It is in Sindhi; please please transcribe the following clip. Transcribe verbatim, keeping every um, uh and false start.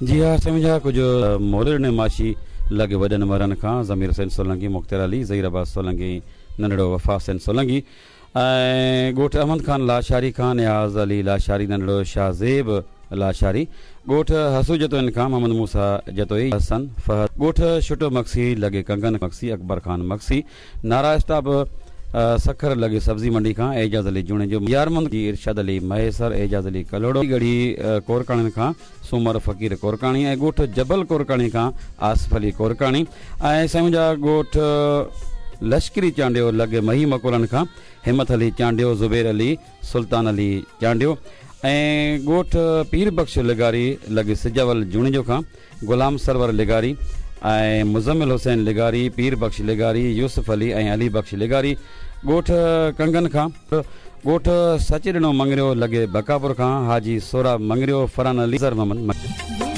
جي ها سمجها، ڪجهه مولر ماشي لڳ وڏن مرن کان ضمير حسين سولنگي، مختيار علي، ظهير عباس سولنگي، ننڍڙو وفا حسين سولنگي ۽ ڳوٺ احمد خان لاشاري کان نياز علي لاشاري، ننڍڙو شاهزيب لاشاري، ڳوٺ حسو جتوئين کان محمد موسيٰ جتوئي، حسن فهد، ڳوٺ شٽو مڪسي لڳي ڪنگن مڪسي، اڪبر خان مڪسي، نارا اسٽاپ سکر لڳي سبزي منڊي کان اعجاز علي جوڻيجو، يارمند جي ارشاد علي مهيسر، اعجاز علي ڪلهوڙو، ڳڙهي ڪورڪاڻين کان سومر فقير ڪورڪاڻي ۽ ڳوٺ جبل ڪورڪاڻي کان آصف علي ڪورڪاڻي ۽ سائين جا ڳوٺ لشڪري چانڊيو لڳي مهي مڪولن کان همت علي چانڊيو، زبير علي، سلطان علي چانڊيو ۽ ڳوٺ پير بخش لغاري لڳي سجاول جوڻيجو کان غلام سرور لغاري ۽ مزمل حسين لغاري، پير بخش لغاري، يوسف علي ۽ علي بخش لغاري، ڳوٺ ڪنگن کان ڳوٺ سچ ڏنو مڱريو لڳي بڪاپور کان حاجي سوراب مڱريو، فرحان علي، زر محمد.